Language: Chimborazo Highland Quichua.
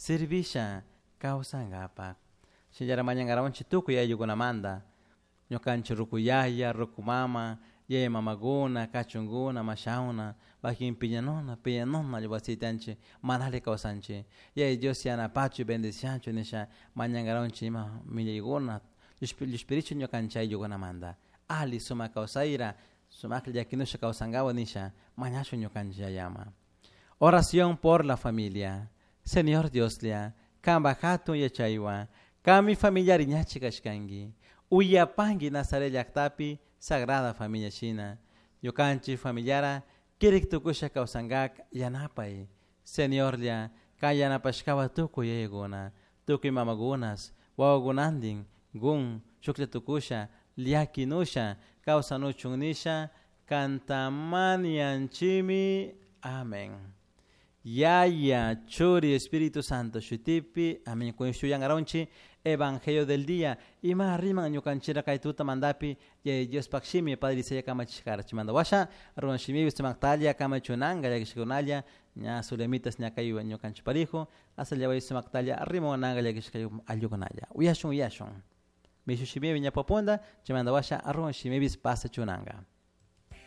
Servisha kawsankapa. Shinallara mañangarawanchik tukuy ayllukunamanta. Ñukanchik ruku yaya, ruku mama, yaya mamakuna, kachunkuna, mashawna, wakin piñanuna, piñanuna wasiytanchik mana alli kawsanchik. Yaya Dios yanapachu, bendicianchu nisha mañangarawanchik ima millaykuna llushpirichun ñukanchik ayllukunamanta. Ali sumak kawsayra, sumaklla llakinusha kawsankawa nisha mañashun ñukanchik yayaman. Oración por la familia. Señor Dioslla, kanpak hatun yachaywan, kanmi familiari ñachi kashkanki. Uyapanki Nazaret llaktapi Sagrada Familia shina. Ñukanchik familiara kirik tukusha kawsankak yanapay. Señorlla, kan yanapashkawa tukuy yayakuna, tukuy mamakunas, wawakunantin, gun, shuklla tukusha, llakinusha, kawsanuchun nisha, kantamanianchimi. Amén. Yaya, Churi, Espíritu Santo, shutipi, amén. Kun Evangelio del día. Ima riman ñukanchira kay tuta mandapi, yaya Dios pakshimi, Padre Isaiah kamachishkara. Chimanda washa, ruan shimi, sumaktalla, kamachunanga, llakishkunalla, ña sulemitas ña kay ñukanchiparijo, hasta llaway sumaktalla, rimonanga, llakishkayu ayllukunalla. Uyashun, uyashun. Mishu shimi, ña popunda, chimanda washa, ruan shimi, pasa chunanga.